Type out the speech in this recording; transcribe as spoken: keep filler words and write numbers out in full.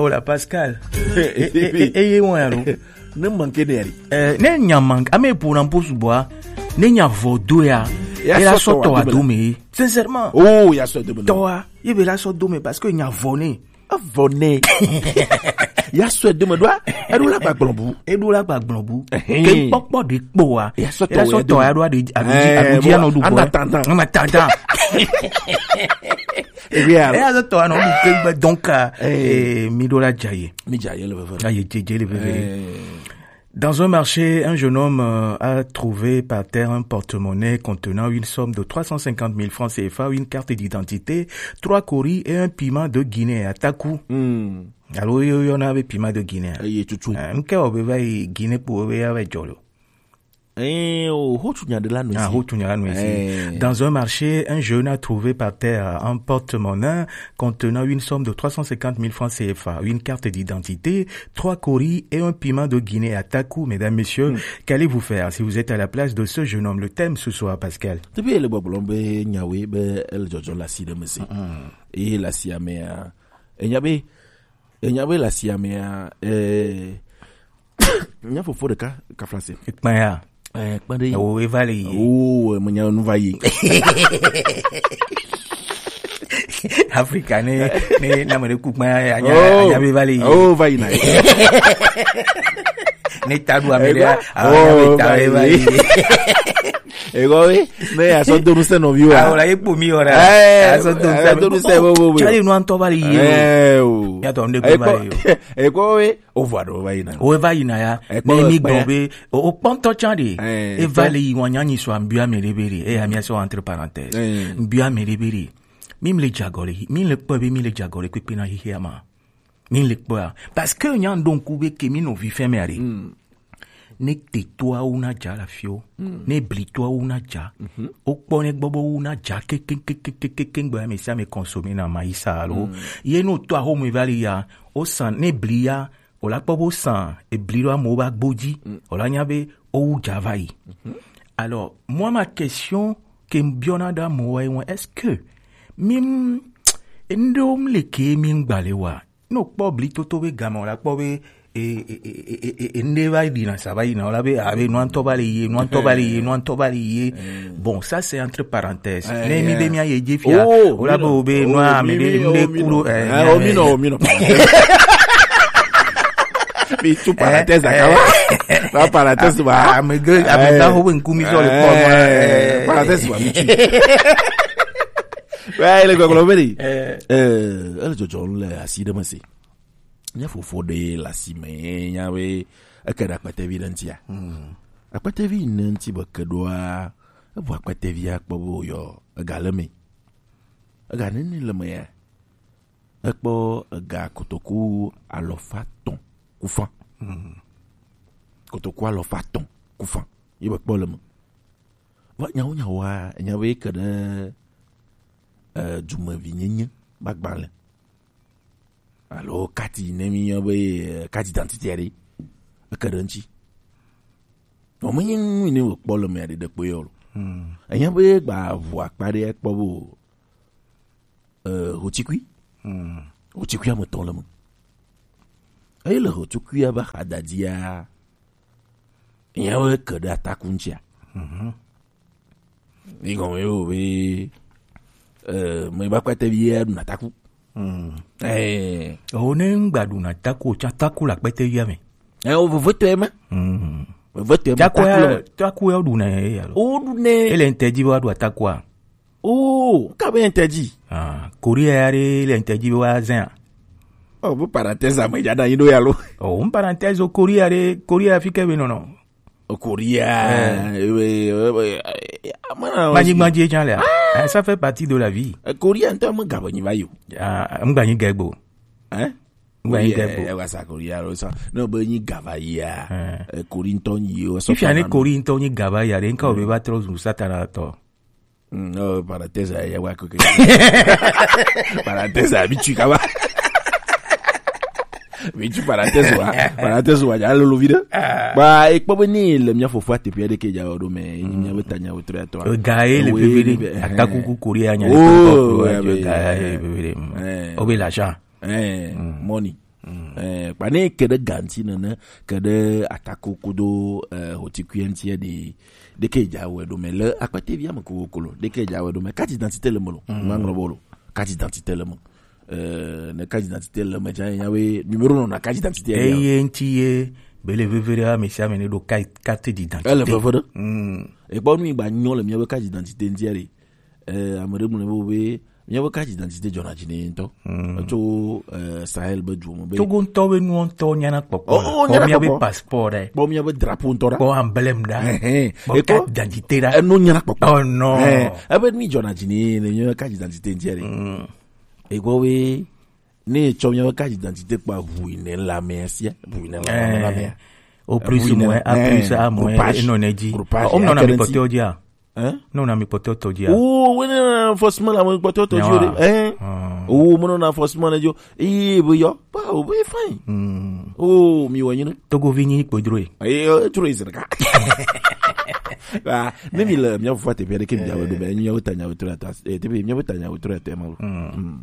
Oh la Pascal. E, e, e, e, ye wan alo. Ne manke de yari. Eh, ne nya manke, ame pour na posu boa. Ne nya vodo ya. Ya e la sɔtɔ soto wa do me. Sincèrement. Oh, ya sɔtɔ do me. Tɔa, ye be la sɔtɔ do me parce que nya vɔ ne. Avɔ ne. Ya sɔtɔ do me doa. E do la gba gblɔbu. E do la gba gblɔbu. Ehe. Ke kpɔkpɔ de kpɔ wa. Ya sɔtɔ e la sɔtɔ ya do ade. Abuji, eh, abuji anɔ du ana bɔ. Tantan. Ana tantan. E ya sɔtɔ anɔ du ke gbe donc, eh, mi do la jaye. Mi jaye le veve. Aye jeje le veve. Eh. Dans un marché, un jeune homme euh, a trouvé par terre un porte-monnaie contenant une somme de trois cent cinquante mille francs C F A, une carte d'identité, trois coris et un piment de Guinée à Taku. Hmm. Alors, il y en avait piment de Guinée. Aye tutu. Euh, un cœur au réveil, Guinée pour réveiller avec Jolo. Eh, oh, ho tu nya de la noisi. Ah, ho tu nya la noisi. Eh. Dans un marché, un jeune a trouvé par terre un porte-monnaie contenant une somme de trois cent cinquante mille francs C F A, une carte d'identité, trois coris et un piment de Guinée à Taku. Mesdames, messieurs, hmm, qu'allez-vous faire si vous êtes à la place de ce jeune homme ? Le thème ce soir, Pascal. Depuis le boblon be nyawe be el jojo la si de mesi. Hmm. Et la si amea. E nyabe, e nyabe la si amea. Eh, nya fofo ɖeka ka français. Kpaya. Eh, kpande. Ewo eva le yi. Oh, me nya nu va yi. Afrika ne, ne, na me ku kpaya ya nya, oh, nya be va le yi. Oh, va yi na. Ne ta du ame ɖe, oh, nya be ta va yi. Ego we, ne ya so donu se no viwa. Ah, ola ye po mi ora. Eh, ya so donu se, donu se bo bo. Chale no anto va le yi. Eh, o. Ya to nde ku va le yi. Ego we, o va do va yi na. O va yi na ya. Ne mi gbɔ be, o, o kpɔntɔ tsa de. Eh, e va le yi wan nya nyi so ambia me de be de. E ya mi so entre parenthèse. Eh. Mbia me de be de. Mi le jagore, mi le kpɔ be mi le jagore kpekpe na hihi ama. Mi le kpɔ ya. Parce que nya ndo nku be ke mi no vi fɛn me are. Hmm. Ne te to awu na ja la fio. Hmm. Ne bli to awu na ja. Mhm. O kpɔ ne gbɔbɔ wu na ja ke, ke, ke, ke, ke, ke, ke, ngbe ame sia ame consommer na maïs alo. Hmm. Ye no to aho mu va le ya. O san ne bli ya. O la kpɔ bo san, ebli ɖo amewo ba gbo dzi. Mm. O la nya be owu dza va yi. Mhm. Alors, moi, ma question ke m biɔna ɖe amewo ye ŋu, est-ce que mi m-, enu ɖewo m le ke mi ŋgba le wa? Ne o kpɔ bli toto be game, o la kpɔ be, e, e, enu ɖe va ɖi na sa va yi na, o la be, a be, nua ŋutɔ va le ye, nua ŋutɔ va le ye, nua ŋutɔ va le ye. Mm. Bon, ça c'est entre parenthèses. Eh, ne mi be mi aye dzi fia, oh, o la be o be nua mi be mi, mi, mi, mi, mi, mi, mi, mi, mi, mi, mi, mi, mi, mi, mi, tu parenthèse, eh, akawa. Eh. Na parenthèse ba. Ah, mais que, ah, mais ça, eh, faut une commission de, eh, forme, eh. Parenthèse ba, mi tu. Ouais, le gogolo veri. Eh. Eh, elle jojo le assis de monsieur. Nya fofo ɖe le asi me, nya be eke ɖe akpetevi ɖe ŋutia. Hmm. Akpetevi ne ŋuti be ke ɖoa, ebu akpetevi akpɔ be oyɔ ega le me. Ega nene le me ya. Ekpɔ ega kotoku alɔfa etɔ̃ kufã. Hmm. Kotoku alɔfa etɔ̃ kufã. Ye be kpɔ le me. Va nyawo nyawoa, nya be ke ɖe, eh, dumevi nyenye ba gbalẽ. Alo kati ne mi yɔ be, eh, kati d'identité ɖe. Eke ɖe ŋuti. Vɔ me nye nu ne wòkpɔ le mea ɖe ɖe kpe yɔ lo. Hmm. Enya be gba ʋu akpa ɖe kpɔ be o. Eh, hotikui. Hmm. Hotikui ame tɔ̃ le me. Eye le hotikui aba xa dadia, enya be ke ɖe ataku ŋutia. Mhm. Ni gɔme ye wo be, eh, me ba kpɛtɛ vi ya ɖuna taku. Hmm. Eh. O ne ŋgba ɖuna taku, o tsa taku le akpɛtɛ via me. Eh, o veve tɔe ma. Hmm. Veve tɔe ma, taku ya, taku le me. Taku ya ɖuna ye ya lo. O ɖunɛ. Ele ŋtɛ dzi be wa ɖu atakua. O, ka be ŋtɛ dzi. Ah, Korea ya ɖe le ŋtɛ dzi be wa zɛn a. O, bu parenthèse ame dza ɖa yi ɖo ya lo. O, n parenthèse o Korea ɖe, Korea fi ke be nɔnɔ. Korea. Eh. Eh, eh, eh, eh, eh, mana. Manyi, manyi, eh, ça fait partie de la vie. Eh, Korea ŋutɔ me ga be nyi va yi o. Ah, ŋgba nyi ga egbe o. Hein? Ŋgba nyi ga egbe o. Eh, eh, wasa Korea lo sa. No be nyi ga va yi a. Eh. Eh, Korea ŋutɔ nyi o. Ifia ne Korea ŋutɔ nyi ga va yi a, ɖe nka o be va trɔ zu Satana tɔ. Mm, oh, parenthèse ya wa ko ke. Parenthèse, mi tu kaba. Mi tu parenthèse wa. Parenthèse wa, ya lolo vide. Ah. Ba, e kpɔ be ni le mia fofo ate pia de ke ja o do me, ni mia be ta nya o tre to. Ga e le pepele. Atakuku Korea nya. Oh, ya be ga e le pepele. Eh. O be l'argent. Eh, mm, money. Mm. Eh, kpa ne ke ɖe ga ŋuti nene, ke ɖe atako kodo, eh, hotikui ŋuti ɖe, ɖe ke dza wɛ ɖo me le akpete via me kokoko lo, ɖe ke dza wɛ ɖo me. Carte d'identité le me lo. Mm. Ma ŋlɔ bo lo. Carte d'identité le me. Eh, ne carte d'identité le me dza nya we numéro nɔ na carte d'identité ya. Eye ŋuti ye bele veve ɖe ame sia ame ne ɖo carte, carte d'identité. Ele veve ɖe. Mm. Ekpɔ nu yi gba nyɔ le mía be carte d'identité ŋuti ɖe. Eh, ame ɖe gblɔ be, be míabe carte d'identité dzɔna dzi nɛ ŋutɔ. Mm. Tso, eh, Sahel be duwo me be. Togo ŋutɔ be nuwo ŋutɔ nyana kpɔkpɔ. Oh, oh, nyana kpɔkpɔ. Kpɔ míabe passeport ɖe. Kpɔ míabe drapeau ŋutɔ ɖe. Kpɔ emblème ɖe. Ehɛn. Kpɔ carte d'identité ɖe. Enu nyana kpɔkpɔ. Oh, non. Ehɛn. Ebe mi dzɔna dzi nɛ le míabe carte d'identité ŋuti ɖe. Mm. Ekpɔ be, ne etsɔ míabe carte d'identité kpa ʋu yi ne la mea sia, ʋu yi ne la mea. Au plus, moins, à plus, à moins, enɔ ne dzi. Groupage. O, menɔna mi kpɔtɔewo dzia? Hein? Ne wona mi kpɔtɔewo tɔ dzia? O, wona forcément la mi kpɔtɔewo tɔ dzi o ɖe. Hein? O, menɔna forcément ne dzi o. Eye be yɔ. Ba, o be fine. Hmm. O, mi wɔ nyina. Togovi nyi kpodroe. Eye, o, troe zerka. Ba, ne mi le, mi fo te pere ke mi jawe do be, mi ta nyawe troe ta. Eh, te be, mi ta nyawe troe te ma. Hmm.